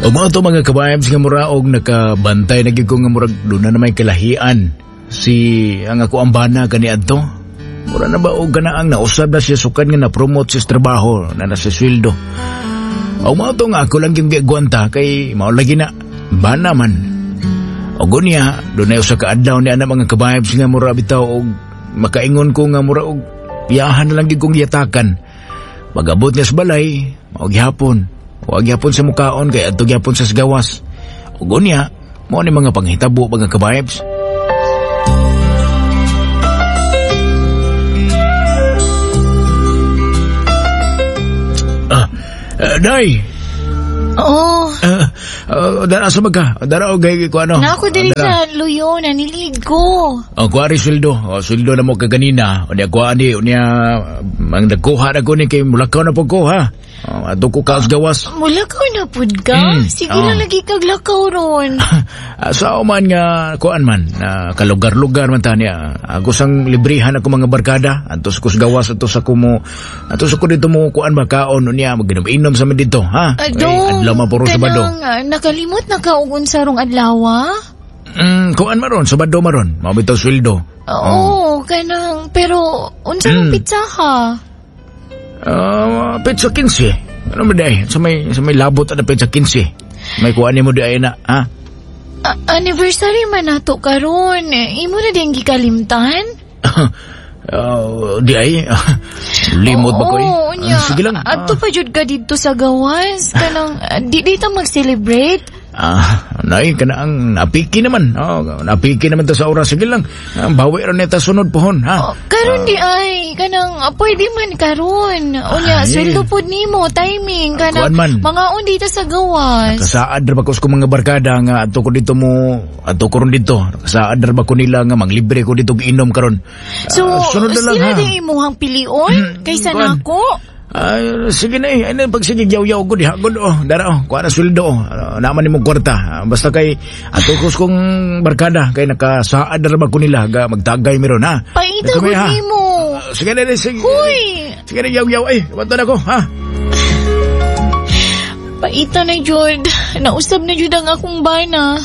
O mao to mga ka-vibes nga mura og nakabantay na gyud ko nga murag doon na may kalahian si ang ako ang bana kaniadto. Mura na ba og kanaang nausab na siya sukad nga na-promote siya sa trabaho na nasa sweldo. O mao to nga ako lang yung gigwanta kay mao lagi na bana man. O gunya doon na usa ka adlaw ni ana mga ka-vibes nga mura bitaw og makaingon ko nga mura og iyahan na lang gyud kong giyatakan. Pag-abot niya sa balay, mao gihapon. Wa gyapon sa mukaon kay adto gyapon sa gawas. Ug unya, mao ni mga panghitabo mga ka-vibes. Day. Oo. Dara sa magka. Dara og gay ko ano. Na ako diri sa luyo na nilig ko. Oh, kuari sweldo. Oh, sweldo na mo kaganina. Unya kuha ni unya ang nagkuha na ko ni kay mulakaw na pud ko ha. Oh, adto ko kaos gawas. Mulakaw na pud ka? Sige lang lagi kag lakaw ron. Sa man nga kuan man na kalugar-lugar man ta niya. Ako sang librihan ako mga barkada. Antos ko sa gawas, antos ako mo, antos ako dito mo kuan ba kaon unya maginom-inom sa mi dito ha. Adong, adlaw man puro Sabado. Nakalimot na ka og unsa rong adlaw? Kuan maron Sabado maron. Mao bitaw sweldo. Oo, kanang pero unsa rong pizza ha? Pizza 15. Ano ba day? Sa may labot na pizza 15. May kuan nimo di ay na, ha? Anniversary man nato karon. Imo na din gikalimtan? Di ay. Limot ba ko eh? Sige lang. Adto pa jud ka didto sa gawas. Kanang di ta mag-celebrate. Nay, kana ang napiki naman. Oh, napiki naman ta sa oras. Sige lang. Bawi ra nita sunod pohon, ha? Oh, karon di ay kanang pwede man karon. Unya, sweldo pod nimo, timing kanang mga undi ta sa gawas. Nakasaad ra ba ko sa mga barkada nga adto ko dito mo, adto ko ron dito. Nakasaad ra ba ko nila nga manglibre ko dito inom karon. So, sunod na lang, sila di imuhang pilion kaysa nako. Ay, sige na eh. Ay, pag sige, yaw-yaw ko diha. Good, oh. Dara, oh. Kuha na sweldo, oh. Naman ni mong kwarta. Basta kay, atukos kong barkada, kay nakasaad na ba ko nila, ga, magtagay meron, ha? Paita ko ni mo. Sige na, sige. Huy! Sige na, yaw-yaw, ay. Kabanto na ko, ha? Paita na, Jod. Nausab na, Jod, ang akong bana.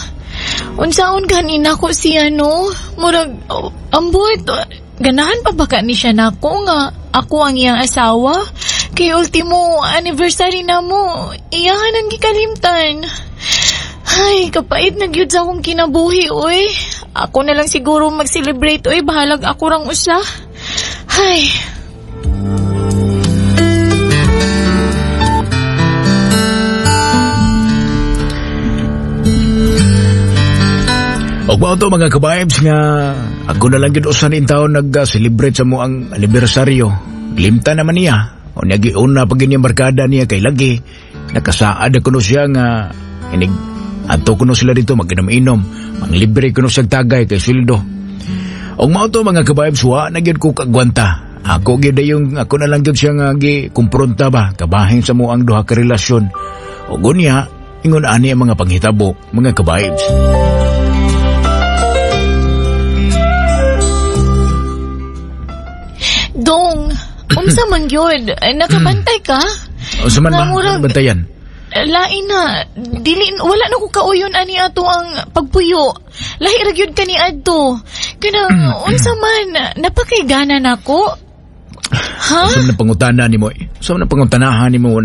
Unsaon kanina ko siya, no? Murag, oh, ambot, ganahan pa ba ka ni siya nako nga ako ang iyang asawa? Kay ultimo anniversary na mo, iyahan ang gikalimtan. Ay, kapait na gyud sa akong kinabuhi, oy. Ako na lang siguro mag-celebrate, oy. Bahalag ako rang usa. Ay. Og mao to mga ka-vibes nga ako na lang gyud usa ning taon nag-celebrate sa mo ang anibersaryo. Limta naman niya. O niya giuna pag inyong barkada niya kay lagi. Nakasaad ako no siya nga inig adto kuno sila dito maginom-inom. Manglibre kuno siya tagay kay sweldo. Og mao to mga ka-vibes, wa na gyud ko kagwanta. Ako gyud yung ako na lang gyud siya nga gi-kumpronta ba kabahin sa mo ang duha ka relasyon. Og unya ingon ani ang mga panghitabo mga ka-vibes. Dong, unsa man gyud? Nakabantay ka? Unsa man ba? Bantayan? Lain na. Dili, wala na ko kauyon ani ato ang pagpuyo. Lahi ra gyud kani adto. Kanang unsa man, napakaygana nako. Ha? Unsa man pangutana nimo? Unsa man pangutanahan nimo?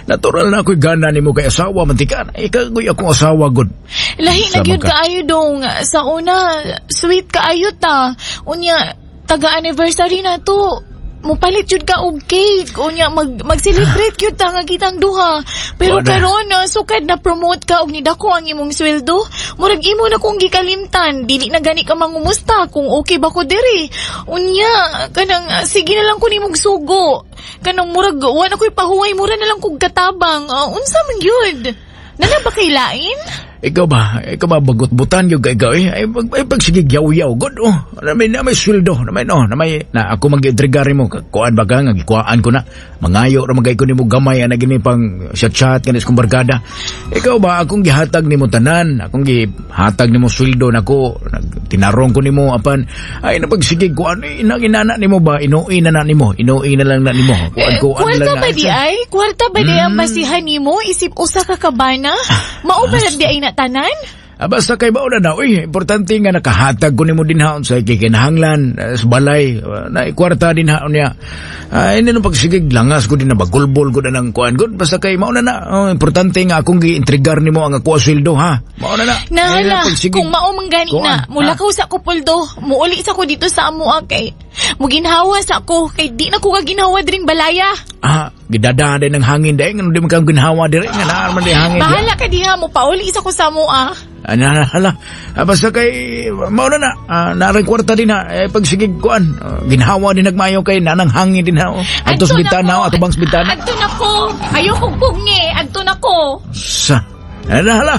Natural na ako'y gana nimo kay asawa man tika. Ikagoy akong asawa gud. Lahi na gyud kaayo dong. Sa una, sweet kaayo ta. Unya, taga-anniversary na to. Mupalit jud ka og cake. Unya mag-celebrate gyud ta nga kitang duha. Pero karon sukad na promote ka og nidako ang imong sweldo. Murag imo na kong gikalimtan. Dili na gani ka mangumusta kung okay ba ko diri. Unya kanang sige na lang ko nimong sugo. Kanang murag wa na koy pahuway, mura na lang kog katabang. Unsa man gyud? Nana ba kay lain? Ikaw ba bagot-butan yung ikaw eh? Ay, pag sige yaw-yaw, good oh. Na may sweldo, na may no, na may, na ako mag-intrigari mo, kuan ba ka, nga gikuhaan ko na, mangayo ra magay ko nimo gamay, ana gini pang chat-chat, kanis kong barkada. Ikaw ba, akong gihatag nimo tanan, akong gihatag nimo sweldo nako, Tinarong ko nimo apan ay napagsigig kuan inang inana nimo ba inuin na na nimo, inuin na lang na nimo. Kuan Eh, kuan kwarta lang ba na. di ay? Kwarta ba di ang basihan nimo isip usa ka kabana? Mao ba di ay na tanan? Ah, basta kay bao na na, uy, importante nga nakahatag ko nimo din ha sa kikinahanglan sa balay, na kwarta din ha niya. Ay, hindi nung pagsigig langas ko din na bagulbol ko na ng kuan gud basta kay mao na na. Oh, importante nga akong giintrigar nimo ang ako sweldo ha. Mao na na. Ay, Nahala, pagsigig. kung mao man gani Kuan, na, mulakaw sa ko puldo, muuli sa ko dito sa amoa kay muginhawa sa ko kay di na ko kaginhawa dring balaya. Ah, gidada din ng hangin dahil ngano di man kang ginhawa dire nga naa man di hangin. Bahala ka diha mo pauli sa ko sa amoa. Ah, na, hala. Ah, basta kay mao na na. Ah, naray kwarta din ha. Eh, pagsigig kuan, ginhawa din nagmayo kay nanang hangin din ha. Oh. Adto sa Adto na bintana, ko. oh, atubang sa bintana. Adto na ko. Ayoko pugngi, adto na ko. Sa. Hala, hala.